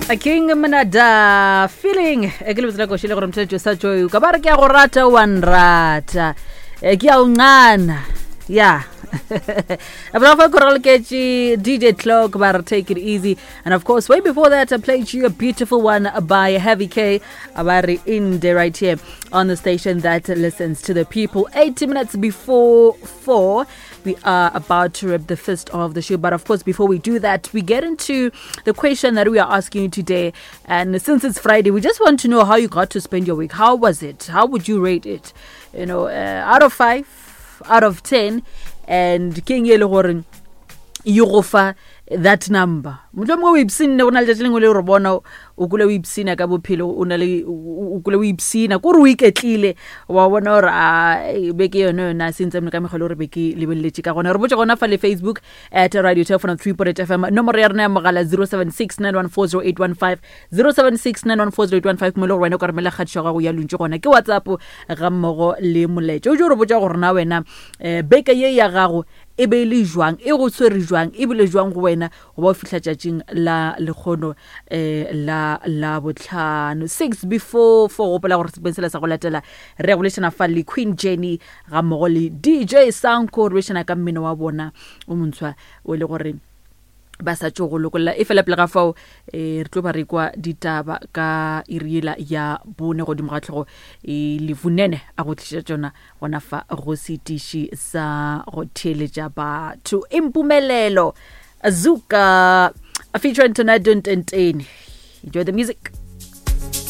King Mnada feeling e ke lebitso la koši le gore motšheletšo sa joy ka ba re ke a go rata wa nrata e ke a o ncana ya Abra Korolkechi, DJ Cloak, but take it easy. And of course, way before that, I played you a beautiful one by Heavy K, Abari Inde, right here on the station that listens to the people. 80 minutes before 4, we are about to rip the fist of the show. But of course, before we do that, we get into the question that we are asking you today. And since it's Friday, we just want to know how you got to spend your week. How was it? How would you rate it? You know, uh, out of 5, out of 10 and ke eng e le gore e go fa that number motlho mongwe o ipsinne go na letšatši lengwe le re bona o kule o ipsina ka bophelo o na le o kule o ipsina ko re o iketlile wa bona gore a beke yone yone a sentse mne ka megolo gore be ke lebeleletše ka gona re botse gona fa le facebook at radio telephone 3 fm nomoro ya rena ya mogala 076 914 076 914 mo e le gore wena o ka romela kgatišo ya gago ya luntši gona ke whatsapp ga mmogo le molaetša o jo re botša gore na wena um beke ye ya gago e be e le jwang e go tshwere jwang e bile jwang go wena go ba o fihla tšatšing la lekgono um la la botlhano six before four gopola gore sepeng sela sa go latela re ya bolešana fa le queen jenny ga mmogo le dj sanko re bolešana ka mmino wa bona o montshwa o e le gore ba sa tšo go lokolla e fela pele ga fao um re tlo ba re kwa ditaba ka iriela ya bone godimo ga tlhogo e levunene a go tliša tšona gona fa go setiši sa go theeletša batho impumelelo azuka a featuring tornado ntentene enjoy the music.